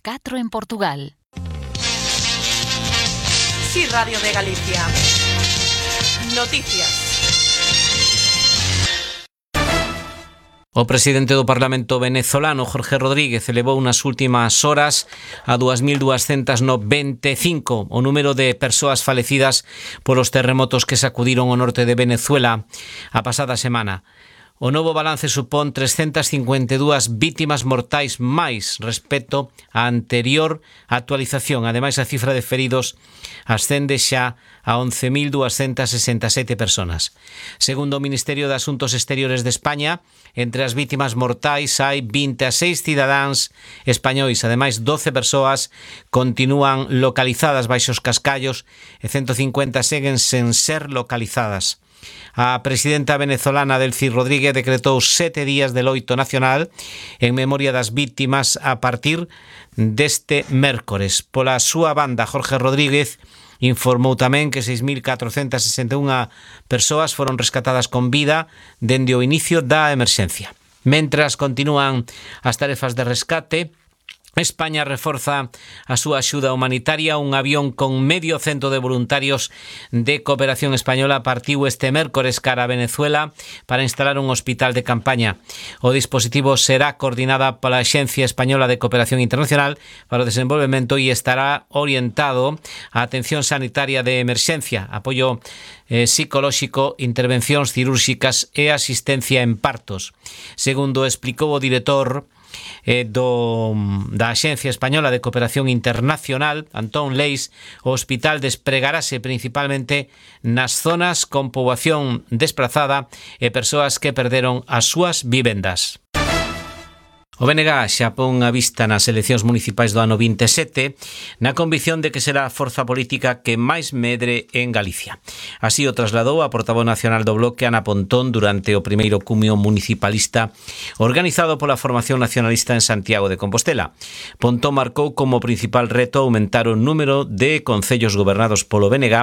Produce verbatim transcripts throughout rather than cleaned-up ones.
catro en Portugal. Sí, Radio de Galicia. Noticias. O presidente do Parlamento venezolano, Jorge Rodríguez, elevou nas últimas horas a dúas mil duascentas noventa e cinco o número de persoas falecidas polos terremotos que sacudiron o norte de Venezuela a pasada semana. O novo balance supón trescentas cincuenta e dúas vítimas mortais máis respecto á anterior actualización. Ademais, a cifra de feridos ascende xa a once mil duascentas sesenta e sete personas. Segundo o Ministerio de Asuntos Exteriores de España, entre as vítimas mortais hai vinte e seis cidadáns españois. Ademais, doce persoas continúan localizadas baixo os cascallos e ciento cincuenta seguen sen ser localizadas. A presidenta venezolana Delcy Rodríguez decretou sete días de loito nacional en memoria das vítimas a partir deste mércores. Pola súa banda, Jorge Rodríguez informou tamén que seis mil catrocentas sesenta e unha persoas foron rescatadas con vida dende o inicio da emerxencia. Mentras continúan as tarefas de rescate, España reforza a súa axuda humanitaria. Un avión con medio cento de voluntarios de cooperación española partiu este mércores cara a Venezuela para instalar un hospital de campaña. O dispositivo será coordinada pola Axencia Española de Cooperación Internacional para o Desenvolvemento e estará orientado á atención sanitaria de emerxencia, apoio eh, psicolóxico, intervencións cirúrxicas e asistencia en partos. Segundo explicou o director Eh, do, da Axencia Española de Cooperación Internacional, Antón Leis, o hospital despregarase principalmente nas zonas con poboación desprazada e persoas que perderon as súas vivendas. O B N G xa pon a vista nas eleccións municipais do ano vinte e sete na convicción de que será a forza política que máis medre en Galicia. Así o trasladou a portavoz nacional do Bloque, Ana Pontón, durante o primeiro cumio municipalista organizado pola Formación Nacionalista en Santiago de Compostela. Pontón marcou como principal reto aumentar o número de concellos gobernados polo B N G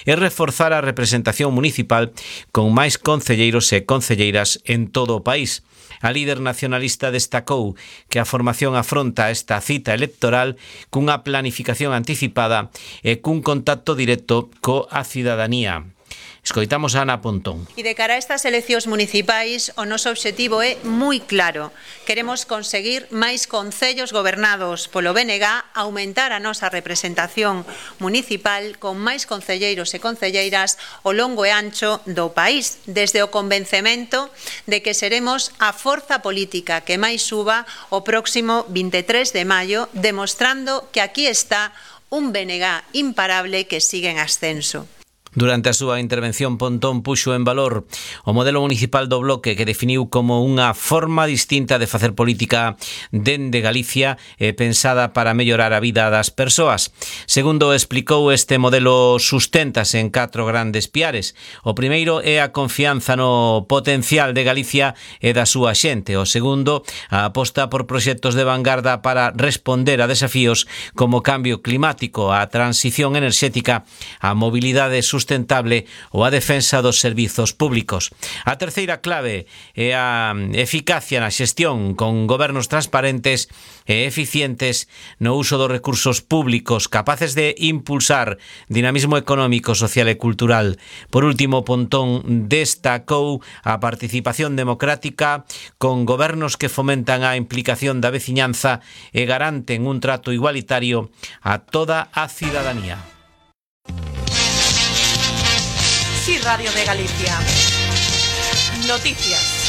e reforzar a representación municipal con máis concelleiros e concelleiras en todo o país. A líder nacionalista destacou que a formación afronta esta cita electoral cunha planificación anticipada e cun contacto directo coa cidadanía. Escoitamos a Ana Pontón. E de cara a estas eleccións municipais, o noso obxectivo é moi claro. Queremos conseguir máis concellos gobernados polo B N G, aumentar a nosa representación municipal con máis concelleiros e concelleiras ao longo e ancho do país, desde o convencemento de que seremos a forza política que máis suba o próximo vinte e tres de maio, demostrando que aquí está un B N G imparable que sigue en ascenso. Durante a súa intervención, Pontón puxo en valor o modelo municipal do Bloque, que definiu como unha forma distinta de facer política dende Galicia e pensada para mellorar a vida das persoas. Segundo explicou, este modelo susténtase en catro grandes piares. O primeiro é a confianza no potencial de Galicia e da súa xente. O segundo, a aposta por proxectos de vanguarda para responder a desafíos como o cambio climático, a transición enerxética, a mobilidade sustentable sustentable ou a defensa dos servizos públicos. A terceira clave é a eficacia na xestión con gobernos transparentes e eficientes no uso dos recursos públicos, capaces de impulsar dinamismo económico, social e cultural. Por último, Pontón destacou a participación democrática con gobernos que fomentan a implicación da veciñanza e garanten un trato igualitario a toda a cidadanía. Sí, Radio de Galicia. Noticias.